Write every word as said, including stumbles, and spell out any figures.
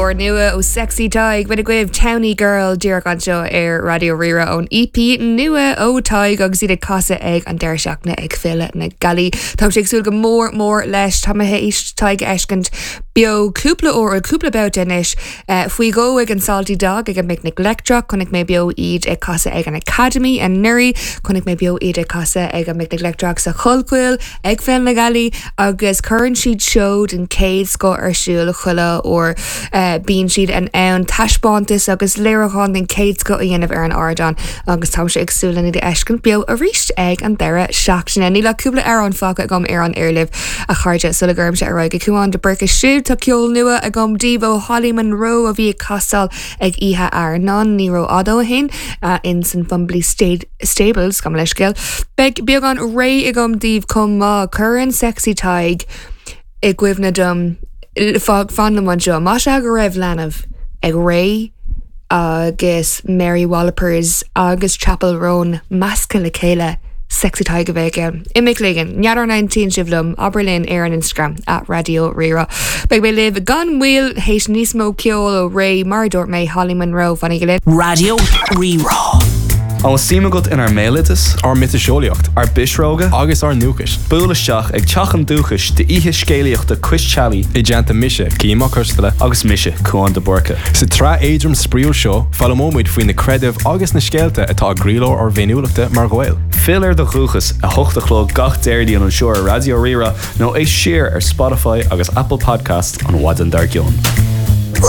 Úrnua ó Sexy Tadhg b'in agaibh Townie Girl díreach anseo ar Raidió Rí-Rá ón EP nua ó Tadhg agus iad ag casadh ag an deireadh seachtaine ag Féile na Gealaí. Tá sé ag súil go mór mór leis tá mé théis Tadhg a fheiscint beo cúpla uair cúpla babhta anois uh, faoi dhó ag an Salty Dog ag an bPicnic Leictreach, chonaic mé beo iad ag casadh ag an Academy anuraidh, chonaic mé beo iad ag casadh ag an bPicnic Leictreach sa Chollchoill ag Féile na Gealaí agus cuireann siad seó den chéad scoth ar siúl chuile uair uh, bíonn siad in ann taispeántas agus léiriúchán den chéad scoth a dhéanamh ar an ardán agus tá sé ag súil lena fheiscint beo arís ag an deireadh seachtaine. Níl ach cúpla amhrán fágtha agam ar an aer libh a chairde sula gcuirimse ar aghaidh go Cuán de Búrca siúd tá ceol nua agam daoibh ó Holly Monroe a bhí ag casadh ag Oíche Airneáin ní rófhada ó shin uh, in san Fumbally Stables gabh mo leithscéal. Beidh beagán réidh agam daoibh chomh maith cuireann Sexy Tadhg i gcuimhne dom fan liom anseo Más ea go raibh leanbh ag Ray agus Mary Wallopers agus Chappell Roan measctha le chéile. Sexy Tadhg a bheith ann. Imigh ligan, n'fheadar an aontaíonn sibh liom abair linn ar an Instagram at Raidió Rí-Rá. Beidh mé libh gan mhoill théis níos mó ceol ó Ray mar dúirt mé Holly Monroe fanaigí linn. Raidió Rí-Rá. An bhfuil suim agat inár mbéaloideas, Ár miotaseolaíocht ár bpisreoga, agus ár ndúchas. Buail isteach ag Teach an Dúchais d'oíche scéalaíochta Cois Teallaigh I dteannta mise Cian Mac Coisteala agus mise Cuán de Búrca. Sa tsraith éadrom spraíúil seo foghlaimeoimid faoi na creidimh agus na scéalta atá i gcroílár ár bhféiniúlachta mar Ghaeil. Fill ar do dhúchas a hocht a chlog gach Déardaoin anseo ar Raidió Rí-Rá nó éist siar ar Spotify agus Apple Podcast an mhaidin dár gcionn.